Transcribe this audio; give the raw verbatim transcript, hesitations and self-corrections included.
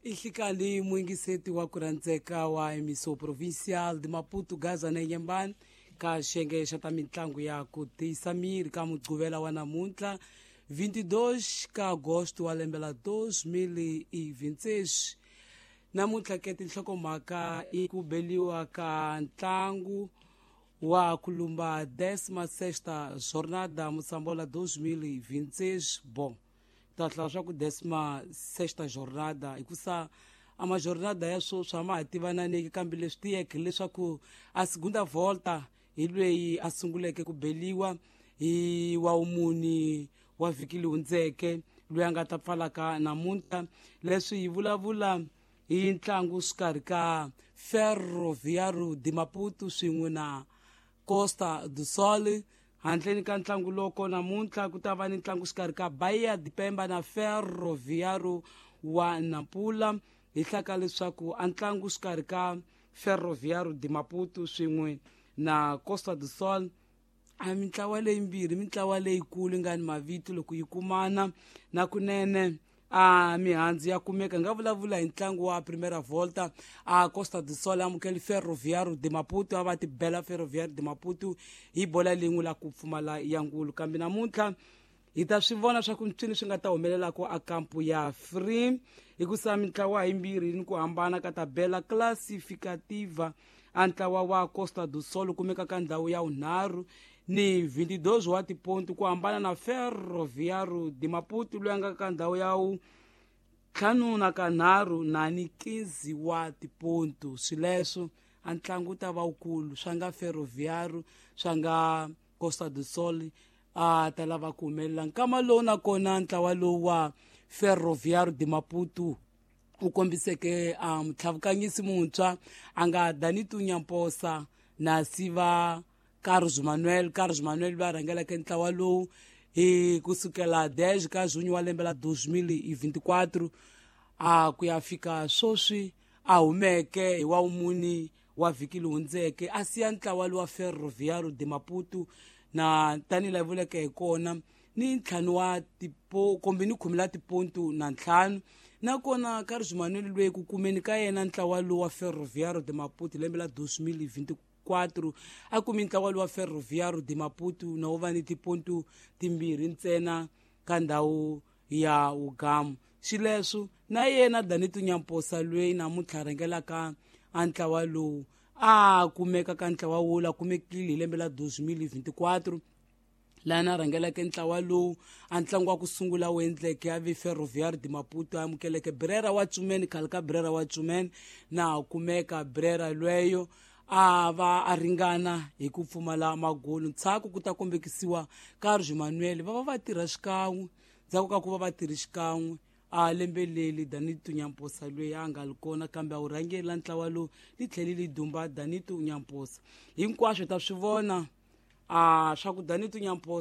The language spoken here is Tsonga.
Ihlikali muyingiseti wa ku rhandzeka wa emiso provincial de Maputo Gaza na Inhambane ka xiyenge xa ta mitlangu ya ku tiyisa miri ka Mugqivela wa namuntlha vinte e dois ka agosto wa lembe la dois mil e vinte e seis. Namuntlha ke tinhlokomhaka i ku beliwa ka ntlangu wa ku lumba décima sexta jornada Moçambola dois mil e vinte e seis. Bom, ta hlaya swa ku décima sexta jornada hikusa a majornada ya sweswi a ma ha tivananeki, kambe leswi tiyeke leswaku a segunda volta hi lweyi a sunguleke ku beliwa hi wa wumuni wa vhiki leyi hundzeke, loyi a nga ta pfalaka namuntlha. Leswi hi vulavula hi ntlangu xikarhi ka Ferroviário de Maputo swin'we na Costa do Sol. Handleni ka ntlangu loko namuntlha ku ta va ni ntlangu xikarhi ka Bahia de Pemba na Ferroviário wa Nampula. Hi hlaka leswaku a ntlangu xikarhi ka Ferroviário de Maputo swin'we na Costa do Sol, a mintlawa leyimbirhi mintlawa leyikulu yi nga ni mavito, loko yi kumana na kunene a mihandzu ya kumeka. Nga vulavula hi ntlangu wa primera volta, a Costa do Sol amukeli Ferroviário de Maputo, a va tibela Ferroviário de Maputo hi bola lin'we la ku pfumala ya ngulu. Kambe namuntlha hi ta swi vona swa ku mpyini swi nga ta humelelako a kampu ya free, hikusa mintlawa yimbirhi ni ku hambana ka tabela classificativa. A ntlawa wa Costa do Sol kumeka ka ndhawu ya vunharhu ni vinte e dois wa tipontu, ku hambana na Ferroviário de Maputo loyi a nga ka ndhawu ya wu ntlhanu na kanharhu na ni quinze wa tipontu. Swileswo a ntlangu wu ta va wukulu, swa nga Ferroviário, swa nga Costa do Sol a ta lava ku humelela nkama lowu. Nakona ntlawa lowu wa Ferroviário de Maputo u kombiseke a mutlhavukanyisi muntshwa a nga Danito Nyamposa na siva Carlos Manuel. Carlos Manuel loyi a rhangeleke ntlawa lowu hi kusukela dez ka junho wa lembe la dois mil e vinte e quatro a ku ya fika sweswi, a humeke hi wa wumuni wa vhiki leyi hundzeke, a siya ntlawa lowa Ferroviário de Maputo na tanihi laha vuleke hi kona ni ntlhanu wa tipo kumbe ni khume la tipontu na ntlhanu. Nakona Carlos Manuel loyi ku kumeni ka yena ntlawa lowu wa Ferroviário de Maputo lembe la dois mil e vinte e quatro, a kumi ntlawa lowu wa Ferroviário de Maputo na wu va ni tipontu timbirhi ntsena ka ndhawu ya wugamu. Xileswo na yena Danito Nyamposa loyi namuntlha rhangelaka a ntlawa lowu, a kumeka ka ntlawa wula kumekile hi lembe la dois mil e vinte e quatro, laha na rhangeleke ntlawa lowu. A ntlangu wa ku sungula wu endleke a vi Ferroviário de Maputo amukeleke Brera wa Cumene, khale ka Brera wa Cumene, na kumeka Brera lweyo a va a ringana hi ku pfumala magolu. Ntshaku ku ta kombekisiwa Carlos Manuel va va va tirha xikan'we. Ndzhaku ka ku va va tirhi xikan'we a lembe leli, Danito Nyamposa loyi a nga li kona kambe a wu rhangela ntlawa lowu li tlheli li dumba Danito Nyamposa. Hinkwaswo ta swi vona a swa ku Danito Nyamposa.